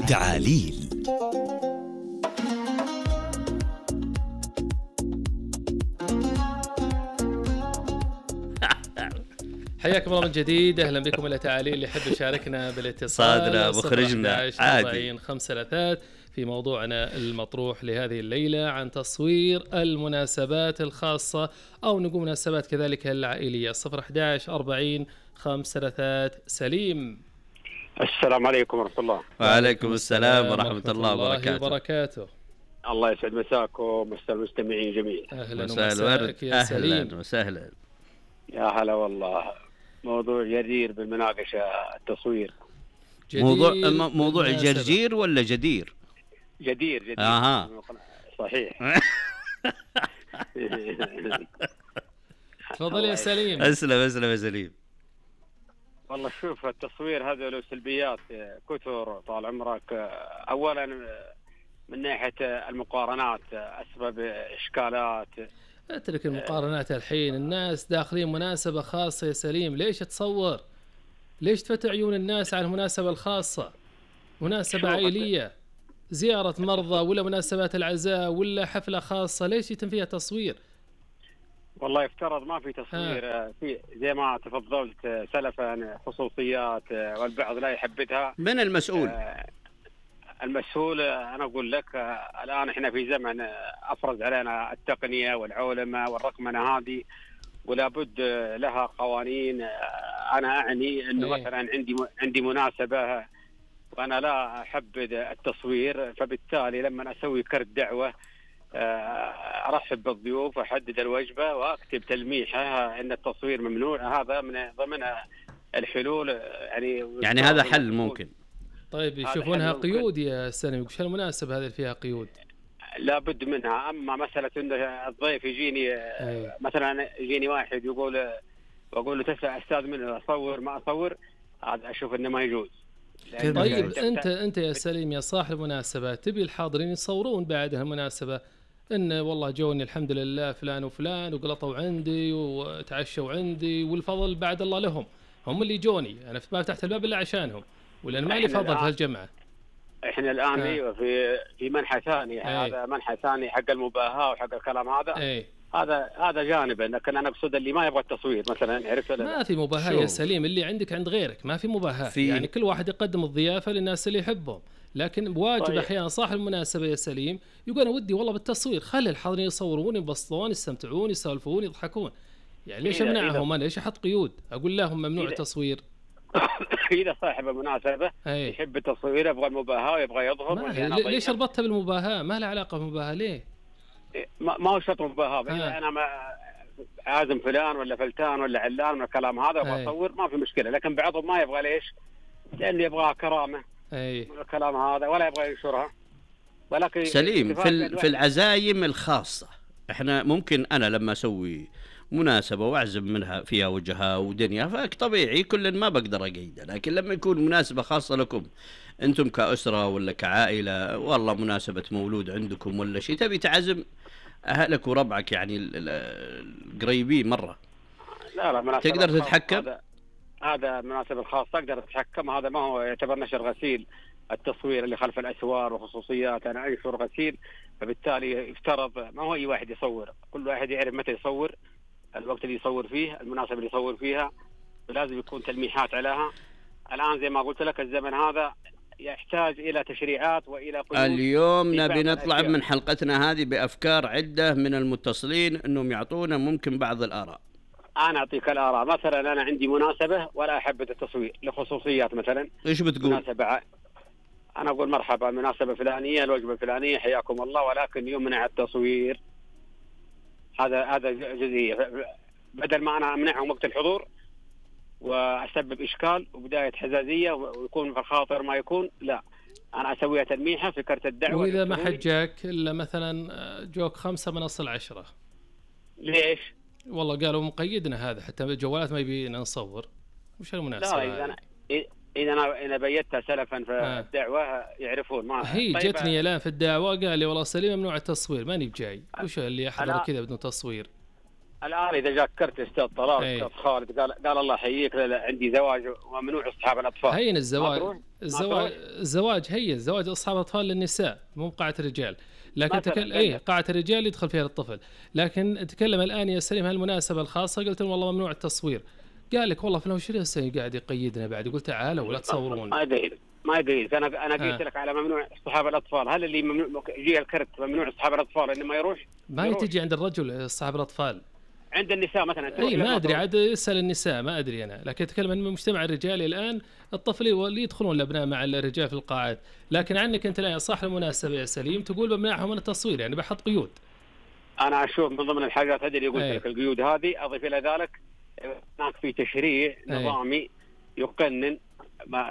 تعاليل. حياكم الله من جديد، اهلا بكم الى تعاليل. اللي يحب يشاركنا بالاتصال صادنا مخرجنا عادي 5 في موضوعنا المطروح لهذه الليله عن تصوير المناسبات الخاصه او نقول مناسبات كذلك العائليه. 011 40 5 سليم. السلام عليكم ورحمة الله. وعليكم السلام ورحمة الله وبركاته. الله يسعد مساكم ومسا المستمعين جميعا. أهلا وسهلا يا سليم. أهلا وسهلا. يا هلا والله، موضوع جدير بالمناقشة التصوير. موضوع جرجير ولا جدير؟ جدير. صحيح. تفضل يا سليم. أسلم يا سليم. والله شوف، التصوير هذا له سلبيات كثر طال عمرك. أولا من ناحية المقارنات أسباب إشكالات. اترك المقارنات الحين، الناس داخلين مناسبة خاصة يا سليم، ليش تصور؟ ليش تفتح عيون الناس على المناسبة الخاصة؟ مناسبة عائلية، زيارة مرضى ولا مناسبات العزاء ولا حفلة خاصة، ليش يتم فيها تصوير؟ والله يفترض ما في تصوير في زي ما تفضلت سلفا خصوصيات، والبعض لا يحبذها. من المسؤول؟ المسؤول أنا أقول لك الآن إحنا في زمن أفرز علينا التقنية والعولمة والرقمنة هذه، ولا بد لها قوانين. أنا أعني أنه مثلا عندي مناسبة وأنا لا أحبذ التصوير، فبالتالي لما أسوي كرت دعوة أرحب بالضيوف وأحدد الوجبة وأكتب تلميحة أن التصوير ممنوع. هذا من ضمن الحلول. يعني هذا حل ممكن. طيب يشوفونها قيود يا سلمي، وش المناسبة هذه اللي فيها قيود؟ لا بد منها. أما مسألة أن الضيف يجيني مثلا يجيني واحد وأقول له تسأل أستاذ منه أصور ما أصور، هذا أشوف أنه ما يجوز. طيب أنت يا سليم يا صاحب المناسبة تبي الحاضرين يصورون بعد المناسبة إن والله جوني الحمد لله فلان وفلان وقلطوا عندي وتعشوا عندي، والفضل بعد الله لهم، هم اللي جوني، أنا ما فتحت الباب إلا عشانهم، ولا ما لي فضل في هالجمعة. احنا الان في منحى ثاني. هذا منحى ثاني حق المباهاة وحق الكلام هذا. هذا جانب، لكن انا اقصد اللي ما يبغى التصوير مثلا، عرفت ولا ما في مباهاة يا سليم، اللي عندك عند غيرك، ما في مباهاة. يعني كل واحد يقدم الضيافة للناس اللي يحبهم، لكن بواجب طيب. احيانا صاحب المناسبة يا سليم يقول انا ودي والله بالتصوير، خلي الحاضرين يصورون ينبسطون يستمتعون يسولفون يضحكون، يعني ليش امنعهم انا؟ ليش احط قيود اقول لهم ممنوع التصوير؟ إذا صاحب المناسبة يحب التصوير، يبغى المباهاة ويبغى يظهر. ليش ربطتها بالمباهاة؟ ما له علاقة بالمباهاة. ليه؟ ما هو شرط مباهاة. أنا ما عازم فلان ولا فلتان ولا علان من الكلام هذا أبغى أصور، ما في مشكلة. لكن بعضهم ما يبغى. ليش؟ لأنه يبغى كرامة من الكلام هذا ولا يبغى ينشرها. ولكن سليم في العزايم الخاصة، إحنا ممكن أنا لما أسوي مناسبة وأعزم منها فيها وجهها ودنيا فطبيعي كل ما بقدر أقيده، لكن لما يكون مناسبة خاصة لكم أنتم كأسرة ولا كعائلة، والله مناسبة مولود عندكم ولا شيء، تبي تعزم أهلك وربعك يعني القريبين مرة، لا تقدر تتحكم. هذا مناسبة خاصة تقدر تتحكم. هذا ما هو يعتبر نشر غسيل. التصوير اللي خلف الأسوار وخصوصيات أنا أنشر غسيل، فبالتالي يفترض ما هو أي واحد يصور، كل واحد يعرف متى يصور، الوقت اللي يصور فيه، المناسبة اللي يصور فيها، ولازم يكون تلميحات عليها. الآن زي ما قلت لك الزمن هذا يحتاج إلى تشريعات وإلى قيود. اليوم نبي نطلع من حلقتنا هذه بأفكار عدة من المتصلين أنهم يعطونا ممكن بعض الآراء. أنا أعطيك الآراء. مثلا أنا عندي مناسبة ولا أحب التصوير لخصوصيات مثلا. إيش بتقول؟ مناسبة أنا أقول مرحبا، مناسبة فلانية، الوجبة الفلانية، حياكم الله، ولكن يمنع التصوير. هذا جزئية. بدل ما أنا أمنعهم وقت الحضور وأسبب إشكال وبداية حزازية ويكون في الخاطر ما يكون، لا أنا أسويها تلميحة في كرت الدعوة. وإذا ما حجاك إلا مثلا جوك 5 من أصل 10 ليش؟ والله قالوا مقيدنا هذا حتى الجوالات ما يبينا نصور. وش المناسبة؟ لا إذا أنا بيتها سلفا في الدعوة يعرفون. ما هي طيب جتني الآن في الدعوة قال لي والله سليم ممنوع التصوير، ماني بجاي. وش اللي يحضر كذا بدون تصوير؟ الان اذا جاك كرت استاذ طلال استاذ خالد قال الله يحييك عندي زواج وممنوع اصحاب الاطفال. هين الزواج هين زواج اصحاب الاطفال للنساء مو قاعه الرجال، لكن قاعه الرجال يدخل فيها الطفل. لكن اتكلم الان يا سليم هالمناسبه الخاصه قلت والله ممنوع التصوير، قال لك والله فلان شنو قاعد يقيدنا بعد. قلت تعالوا ولا تصورون. ما يقيد انا قلت لك على ممنوع اصحاب الاطفال. هل اللي ممنوع يجي الكرت ممنوع اصحاب الاطفال انه ما يروح؟ ما تجي عند الرجل اصحاب الاطفال، عند النساء مثلا. اي ما ادري عاد اسال النساء، ما ادري انا، لكن اتكلم عن المجتمع الرجالي الان الطفل اللي يدخلون الابناء مع الرجال في القاعات. لكن عنك انت الان صح المناسبه يا سليم تقول بمنعهم من التصوير، يعني بحط قيود. انا اشوف من ضمن الحاجات هذه اللي قلت لك القيود هذه، اضيف الى ذلك هناك في تشريع نظامي يقنن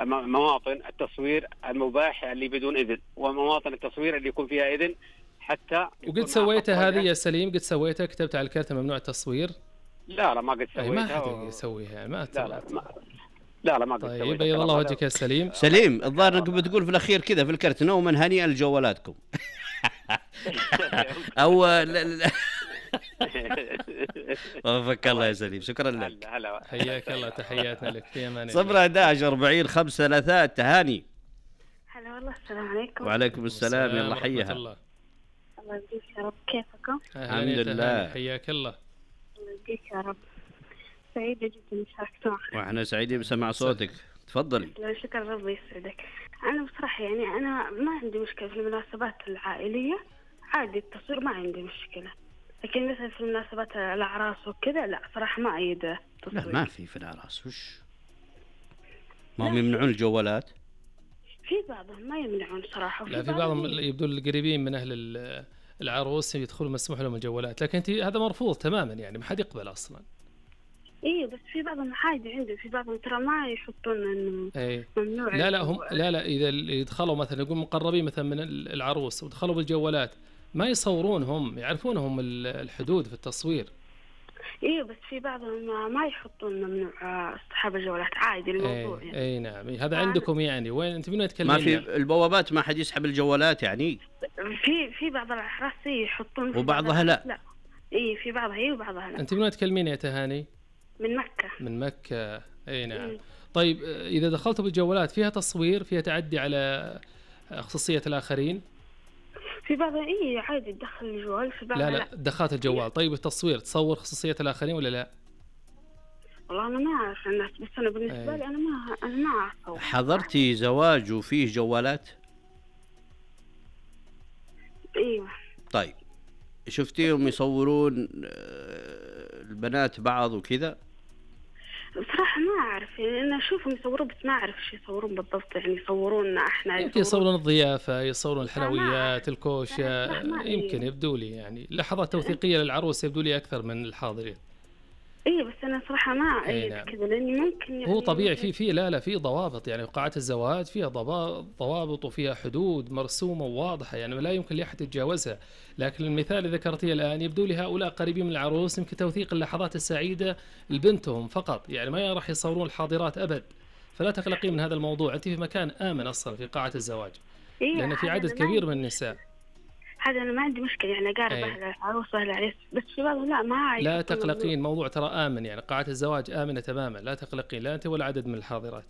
مواطن التصوير المباح اللي بدون اذن، ومواطن التصوير اللي يكون فيها اذن. حتى وقد سويتها هذه يا سليم؟ قد سويتها؟ كتبت على الكرت ممنوع التصوير؟ لا ما قد سويتها. ما حد يسويها، ما لا ما قد سويتها. طيب بيض الله وجهك يا سليم. الظاهر انك بتقول في الاخير كذا في الكرت نوما هنيئا لجوالاتكم. او وفقك الله يا سليم، شكرا لك. حياك الله، تحياتنا لك، في امان الله. 011-40-5 تهاني. هلا والله، السلام عليكم. وعليكم السلام، يلا حيها. الله يبقيك يا رب، كيفكم؟ الحمد لله. حياك الله. الله يبقيك يا رب، سعيدة جدا مشاركة معك. واحنا سعيدين بسماع صوتك، تفضلي. شكرا، ربي يسعدك. انا بصراحة يعني انا ما عندي مشكلة في المناسبات العائلية، عادي التصوير ما عندي مشكلة. لكن مثلا في المناسبات الاعراس وكذا لا صراحة ما أيد التصوير. لا ما في الاعراس، وش ما هم يمنعون الجوالات؟ في بعضهم ما يمنعون صراحة. لا في بعضهم يبدو القريبين من أهل العروس يدخلوا مسموح لهم الجوالات، لكن هذا مرفوض تماما، يعني ما حد يقبل أصلا. إيه بس في بعضهم عادي عندي، في بعضهم ترى ما يحطون إنه ممنوع. لا هم لا إذا يدخلوا مثلا يقول مقربين مثلا من العروس ودخلوا بالجوالات ما يصورون، هم يعرفونهم الحدود في التصوير. إيه بس في بعضهم ما يحطون ممنوع اصحاب الجوالات، عادي الموضوع. يعني. أي نعم، هذا عندكم يعني وين أنت من تكلمين؟ ما في البوابات ما حد يسحب الجوالات يعني؟ في بعض الأحراس يحطون، وبعضها لا. إيه في بعضها وبعضها لا. أنت من تكلمين يا تهاني؟ من مكة. من مكة، أي نعم. طيب إذا دخلتوا بالجوالات فيها تصوير، فيها تعدي على خصوصية الآخرين؟ في بعضها عادي تدخل الجوال، في بعضها لا دخلت الجوال. طيب التصوير تصور خصوصية الآخرين ولا لا؟ والله أنا ما أعرف الناس، بس أنا بالنسبة لي أنا ما أعرف. حضرتي زواج وفيه جوالات؟ ايوه. طيب شفتيهم يصورون البنات بعض وكذا؟ بصراحة ما أعرف، يعني أنا أشوفهم يصورون بس ما أعرف إيش يصورون بالضبط، يعني يصورون إحنا يمكن يصورون الضيافة، يصورون الحلويات، الكوشة، يمكن يبدو لي يعني لحظات توثيقية للعروس يبدو لي أكثر من الحاضرين. إيه بس أنا صراحة ما أعيد كذا، لأني ممكن يعني هو طبيعي في ضوابط، يعني قاعات الزواج فيها ضوابط وفيها حدود مرسومة وواضحة، يعني لا يمكن لأحد يتجاوزها. لكن المثال اللي ذكرتيه الآن يبدو لي هؤلاء قريبين من العروس يمكن توثيق اللحظات السعيدة لبنتهم فقط، يعني ما راح يصورون الحاضرات أبد. فلا تقلقي من هذا الموضوع، أنت في مكان آمن أصلا في قاعة الزواج، لأن في عدد كبير من النساء. هذا أنا ما عندي مشكلة، يعني أقارب أهل العروس وأهل العريس، بس في بعضهم لا ما أعرف. لا تقلقين، موضوع ترى آمن، يعني قاعة الزواج آمنة تماما، لا تقلقين، لا أنت ولا عدد من الحاضرات.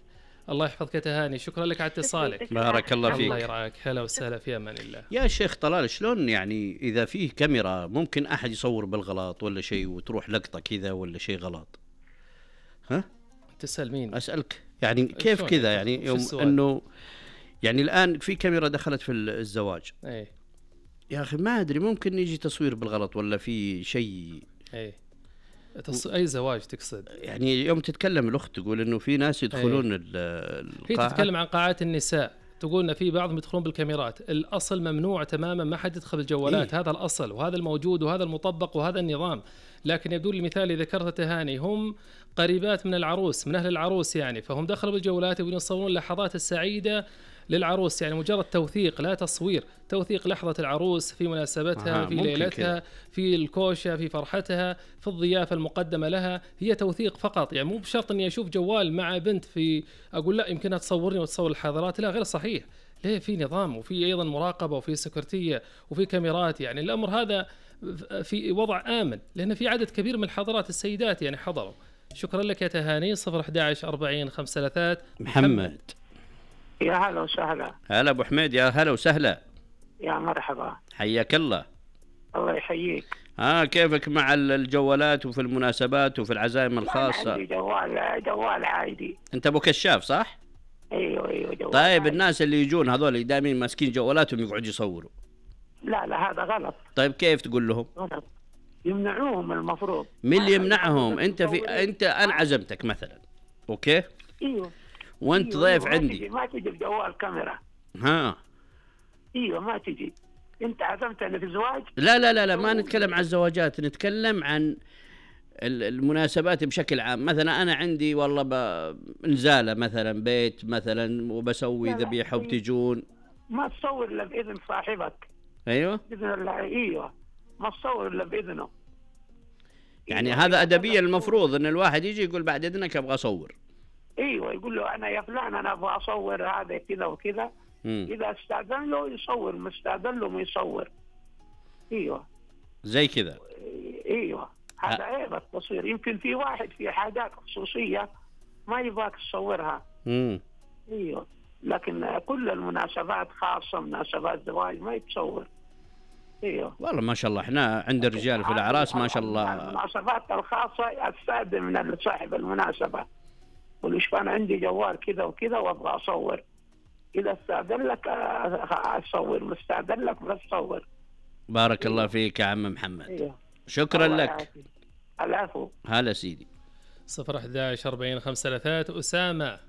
الله يحفظك يا تهاني، شكرا لك على اتصالك. بارك الله فيك. الله يرعاك، هلا وسهلا، في أمان الله. يا شيخ طلال، شلون يعني إذا فيه كاميرا ممكن أحد يصور بالغلط ولا شيء وتروح لقطة كذا ولا شيء غلط؟ ها؟ تسأل مين؟ أسألك يعني كيف كذا، يعني يوم أنه يعني الآن في كاميرا دخلت في الزواج. يا أخي ما أدري، ممكن يجي تصوير بالغلط ولا في شيء. أي زواج تقصد؟ يعني يوم تتكلم الأخت تقول إنه في ناس يدخلون هي تتكلم عن قاعات النساء، تقول إن في بعضهم يدخلون بالكاميرات. الأصل ممنوع تماما، ما حد يدخل بالجوالات. هذا الأصل وهذا الموجود وهذا المطبق وهذا النظام. لكن يبدو لي المثال اللي ذكرته تهاني هم قريبات من العروس، من أهل العروس يعني، فهم دخلوا بالجوالات يبون يصورون اللحظات السعيدة للعروس، يعني مجرد توثيق لا تصوير، توثيق لحظة العروس في مناسبتها، في ليلتها، في الكوشة، في فرحتها، في الضيافة المقدمة لها، هي توثيق فقط. يعني مو بشرط اني اشوف جوال مع بنت في اقول لا يمكنها تصورني وتصور الحاضرات، لا غير صحيح. ليه؟ في نظام وفي ايضا مراقبة وفي سكرتية وفي كاميرات، يعني الامر هذا في وضع آمن، لأن في عدد كبير من الحضارات السيدات يعني حضروا. شكرا لك يا تهاني. 011 40 53 محمد. يا هلا وسهلا. هلا أبو حميد، يا هلا وسهلا. يا مرحبا. حياك الله. الله يحييك. كيفك مع الجوالات وفي المناسبات وفي العزائم الخاصة؟ عندي جوال عادي. أنت أبو كشاف صح؟ ايوه جوال. طيب عادي. الناس اللي يجون هذول دائما ماسكين جوالاتهم يقعدوا يصوروا. لا هذا غلط. طيب كيف تقول لهم؟ غلط. يمنعوهم المفروض. مين اللي يمنعهم؟ انت انا عزمتك مثلا، اوكي؟ ايوه. وانت ضيف عندي. ما تجي بجوال كاميرا. ايوه ما تجي. انت عزمتني في زواج؟ لا ما نتكلم عن الزواجات، نتكلم عن المناسبات بشكل عام. مثلا انا عندي والله نزاله مثلا بيت مثلا وبسوي ذبيحه وبتجون. ما تصور الا باذن صاحبك. ايوه باذن الله. ايوه ما تصور الا باذنه. يعني هذا ادبيا المفروض ان الواحد يجي يقول بعد اذنك ابغى اصور. ايوه يقول له انا يا فلان انا ابغى اصور هذا كذا وكذا. اذا استاذن له يصور، ما استاذن له ما يصور. ايوه زي كذا. ايوه هذا عيب التصوير. يمكن في واحد في حاجات خصوصيه ما يبغاك تصورها. ايوه لكن كل المناسبات خاصه مناسبات زواج ما يتصور. ايوه والله ما شاء الله احنا عند الرجال في الاعراس ما شاء الله. المناسبات الخاصه استاذن من صاحب المناسبه، قول له انا عندي جوال كذا وكذا وابغى اصور. اذا استاذن لك اصور، ما استاذن لك بس تصور. بارك الله فيك يا عم محمد. ايوه شكرا لك. العفو. هلا سيدي. 011 40 53 أسامة.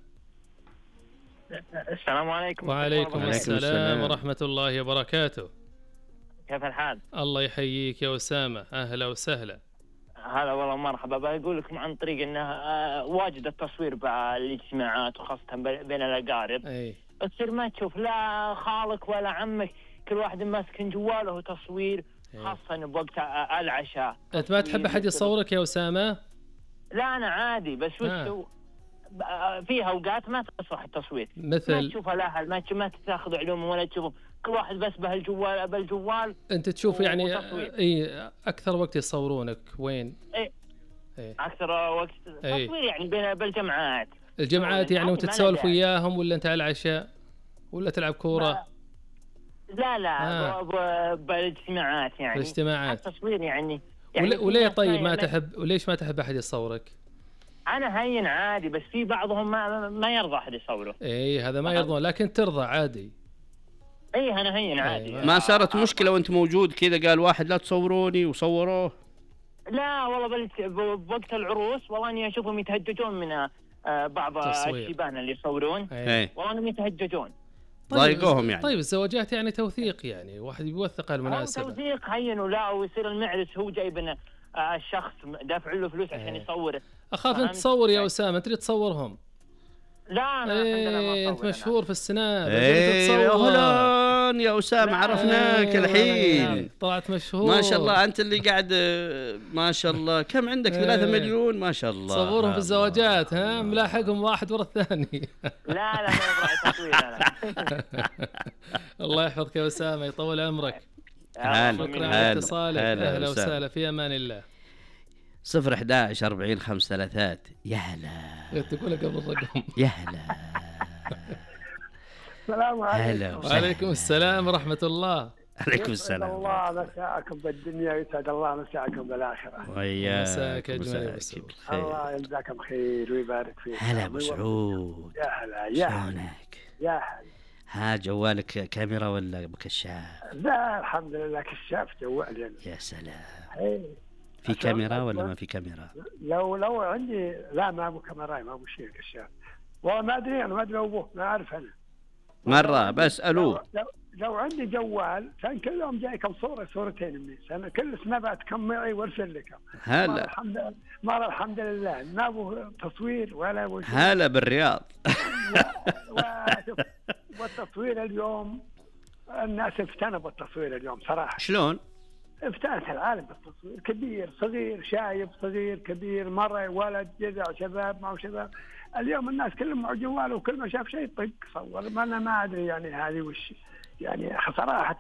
السلام عليكم. وعليكم السلام ورحمة الله وبركاته. كيف الحال؟ الله يحييك يا أسامة، أهلا وسهلا. هلا والله مرحبا. بقول لكم عن طريق انه واجد التصوير بالاجتماعات وخاصة بين الأقارب. أي. تصير ما تشوف لا خالك ولا عمك، كل واحد ماسك جواله تصوير، خاصة بوقت العشاء. أنت ما تحب أحد يصورك يا أسامة؟ لا أنا عادي، بس وش في أوقات ما تصلح التصوير. مثل ما تشوف الأهل، ما تاخذ علومهم ولا تشوفهم، كل واحد بس بالجوال. أنت تشوف يعني أكثر وقت يصورونك وين؟ أكثر وقت تصوير يعني بالجمعات. الجمعات يعني وتتسولف وياهم، ولا أنت على العشاء ولا تلعب كورة؟ لا بالاجتماعات يعني. بالاجتماعات. التصوير يعني وليه طيب ما تحب، وليش ما تحب أحد يصورك؟ أنا هين عادي، بس في بعضهم ما يرضى أحد يصوره. هذا ما يرضى، لكن ترضى عادي. أنا هين عادي. ما صارت مشكلة وأنت موجود كذا قال واحد لا تصوروني وصوروه؟ لا والله بوقت العروس والله اني اشوفهم يتهججون من بعض الشيبان اللي يصورون. والله انهم يتهججون. ضايقوهم يعني. طيب الزواجات يعني توثيق، يعني واحد يوثق المناسبة. توثيق هين ولا، ويصير المعرس هو جايب الشخص دافع له فلوس عشان يصور. اخاف انت تصور يا اسامه، انت اللي تصورهم. لا انت مشهور في السناب. اهلا يا اسامه، عرفناك الحين. طلعت مشهور ما شاء الله. انت اللي قاعد ما شاء الله. كم عندك 3 مليون ما شاء الله. صورهم في الزواجات ملاحقهم واحد ورا الثاني. لا ما يبغى تصوير. الله يحفظك يا اسامه، يطول عمرك. شكرا على اتصالك. اهلا وسهلا، في امان الله. 011 40 53. يا هلا. تقول قبل الرقم. يا هلا. السلام عليكم. وعليكم السلام ورحمة الله. عليكم السلام. الله مساءكم بالدنيا ويسعد الله مساءكم بالآخرة. وياك. مساك أجمل. الله يجزاكم خير ويبارك فيك. هلا أبو سعود. يا هلا. يا شلونك؟ يا هلا. ها جوالك كاميرا ولا بكشاف؟ لا الحمد لله كشاف جوالي. يا سلام. في كاميرا ولا ما في كاميرا؟ لو عندي لا ما ابو كاميرا، ما ابو شيء كشاف. والله ما ادري، انا ما ادري ابوه، ما اعرف انا. مره بسالوه. لو عندي جوال كان كل يوم جاي كم صورتين مني، انا كل سنابات كم معي وارسل لكم. هلا الحمد لله ما ابو تصوير ولا ابو شيء. هلا بالرياض. والتصوير اليوم الناس افتنوا بالتصوير اليوم صراحه. شلون؟ افتتح العالم بالتصوير، كبير صغير شايب صغير كبير، مرة ولد جذع شباب معه شباب. اليوم الناس كلهم مع جواله، وكل ما شاف شيء طق صور. ما انا ما ادري يعني هذه وش يعني صراحة.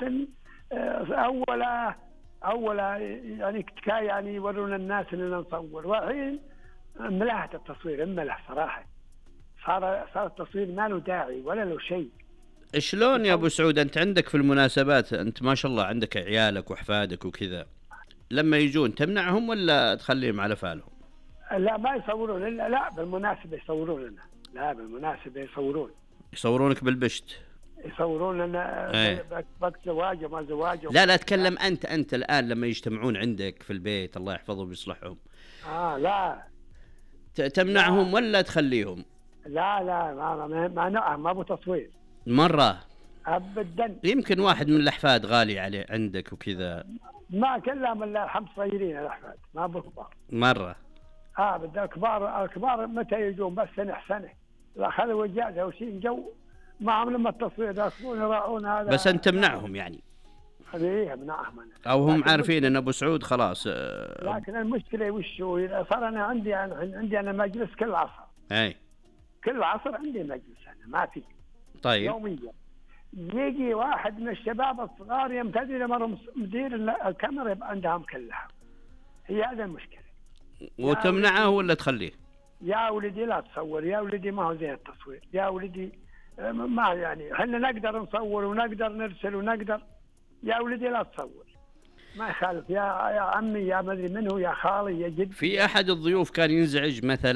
أولا يعني يعني يورونا الناس إننا نصور، والحين ملحة التصوير ملح صراحة، صار التصوير ما له داعي ولا له شيء. شلون يا أبو سعود أنت عندك في المناسبات، أنت ما شاء الله عندك عيالك وأحفادك وكذا، لما يجون تمنعهم ولا تخليهم على فالهم؟ لا ما يصورون إلا لا بالمناسبة يصورون لنا، لا بالمناسبة يصورونك بالبشت، يصورون لنا وقت زواج وما زواج. لا اتكلم انت الان لما يجتمعون عندك في البيت الله يحفظهم ويصلحهم. لا تمنعهم لا. ولا تخليهم؟ لا ما ابو تصوير مرة ابدا. يمكن واحد من الاحفاد غالي عليه عندك وكذا. ما كلهم الا 5 صغيرين الاحفاد ما ابو كبار مرة. بدي الكبار متى يجون بس سنة لا خلوا اجازة وشيء جو معهم لما التصوير ياخذون يراعون هذا. بس انت تمنعهم يعني؟ ايه منعهم أنا. او هم عارفين ان ابو سعود خلاص. لكن المشكلة وشو صار انا عندي انا مجلس كل عصر. كل عصر عندي مجلس انا ما في. طيب. يوميا يجي واحد من الشباب الصغار يمتدي لمرهم مدير الكاميرا يبقى عندهم كلها. هي هذا المشكلة. وتمنعه ولا تخليه؟ يا ولدي لا تصور، يا ولدي ما هو زي التصوير، يا ولدي ما يعني احنا نقدر نصور ونقدر نرسل ونقدر، يا ولدي لا تصور ما يخالف، يا عمي يا مدري منه يا خالي يا جد. في احد الضيوف كان ينزعج مثلا